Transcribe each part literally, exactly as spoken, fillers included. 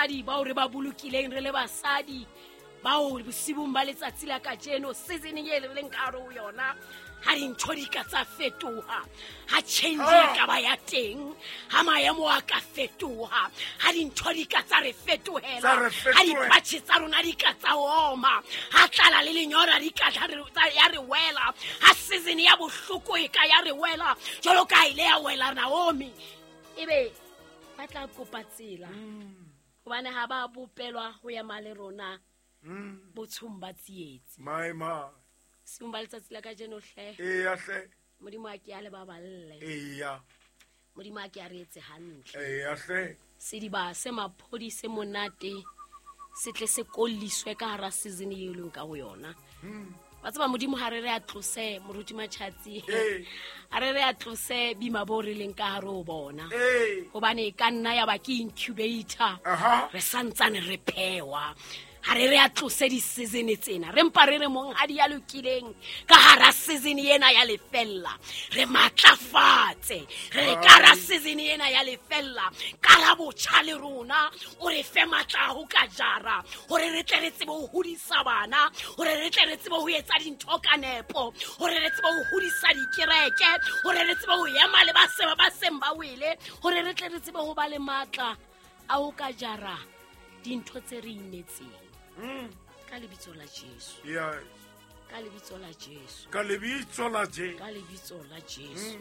Basadi bao re ba bolokileng re le basadi bao bosibung ba letsatsi la kajeno season e re leng ka hare ho yona ha dintho di ka tsa fetoha, ha change e ka ba ya teng, ha maemo a ka fetoha, ha dintho di ka tsa re fetohela, ha dipatjhe tsa rona di ka tsa oma, ha tlala le lenyora di ka ya re wela, ha season ya bohloko e ka ya re wela jwalo ka ile ya wela Naomi, ebe ba tla kopa tsela hobane ha ba bopelwa ho ya male rona botshong ba tsietsi. My ma Seng ba letsatsi la kajeno hle. Eya hle. Modimo a ke a le baballe. Eya. Modimo a ke a re etse hantle. Eya hle. Sediba se maphodi se monate se tle se kolliswe ka hara season e leng ka ho yona. Wa tseba Modimo ha re re a tlose moruti Matjhatsi. Ha re re a tlose bima bo re leng ka hare ho bona. Hobane ka nna ya ba ke incubator. Re santsane re phewa. Ha re re a tlose di-season tsena, re mpa re re monghadi ya lokileng ka hara season ena ya lefella, re matlafatse, re re ka hara season ena ya lefella, ka la botjha le rona, o re fe matla ho ka jara, hore re tle re tsebe ho hodisa bana, hore re tle re tsebe ho etsa dintho ka nepo, hore re tsebe ho hodisa dikereke, hore re tsebe ho ema le ba se ba seng ba wele, hore re tle re tsebe ho ba le matla a ho ka jara dintho tse re imetseng. Ka lebitso la Jesu. Yes. Ka lebitso la Jesu. Ka lebitso la Jesu. Ka lebitso la Jesu.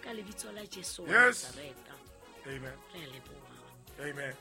Ka lebitso la Jesu. Yes. Nazareta. Amen. Re a leboha. Amen.